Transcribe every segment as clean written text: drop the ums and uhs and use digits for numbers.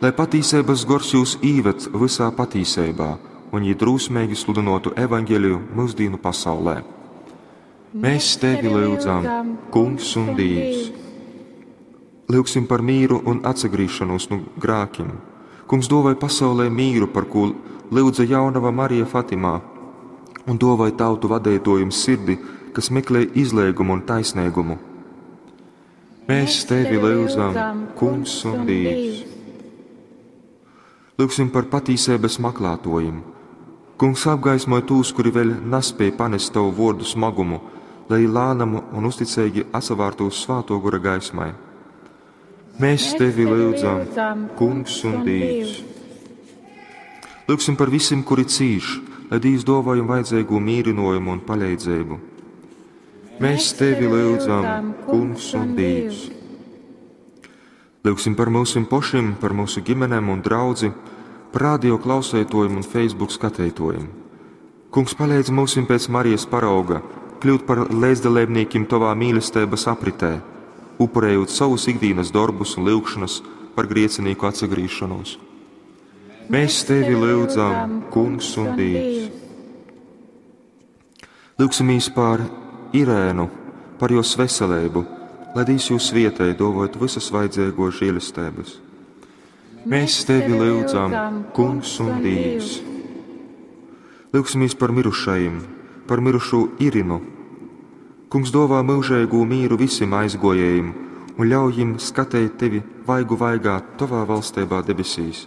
Lai patīseibas gors jūs īved vysā patīseibā, un jī drūsmeigi sludynotu evaņģeliju myusdīnu pasaulē. Mēs tevi lyudzam, Kungs un Dīvs. Lyugsim par mīru un atsagrīzšanos nu grākim. Kungs dovai pasaulē mīru, par kū lyudza jaunava Marija Fatimā, un dovai tautu vadeitōjim sirdi, kas meklē izleigumu un taisnīgumu. Mēs tevi lyudzam, Kungs un Dīvs. Lyugsim par patīseibas maklātojim. Kungs apgaismoj tūs, kuri vēļ naspēj panest tavu vōrdu smagumu, lai lānam un uzticeigi atsavārtu uz Svātō Gora gaismai. Mēs tevi lyudzam, Kungs un Dīvs. Lyugsim par visiem, kuri cīš, lai Dīvs dāvā jums vajadzīgo mīrinājumu un palīdzību. Mēs tevi lyudzam, Kungs un Dīvs. Lyugsim par mūsim pošim, par mūsu ģimenēm un draudzi, par radio klausētojiem un Facebook skatītojiem. Kungs palīdz mūsim pēc Marijas parauga kļūt par līdzdalībniekiem tavā mīlestības apritē, upurējot savus ikdienas darbus un lyugšanas par griecinīku atsagriešanos. Mēs tevi lyudzam, Kungs un Dīvs. Lūgsimies par Irēnu, par jos veselību, lai Dīvs jūs svietē, dovot visas vajadzīgo žēlestības. Mēs tevi lyudzam, Kungs un Dīvs. Lūgsimies par mirušajiem, par mirušo Irinu. Kungs dāvā mūžīgu mīru visiem aizgojējiem un ļauj viņiem skatīt tevi vaigu vaigā tavā valstībā debesīs.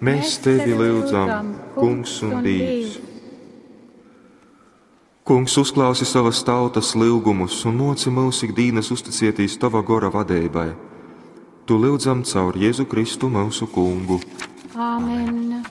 Mēs tevi lyudzam, Kungs un Dīvs. Kungs, uzklausi savas tautas lūgumus un moci mūs ikdienas uzticietīs tava gora vadībai. Tu lūdzam caur Jēzu Kristu mūsu kungu. Āmen.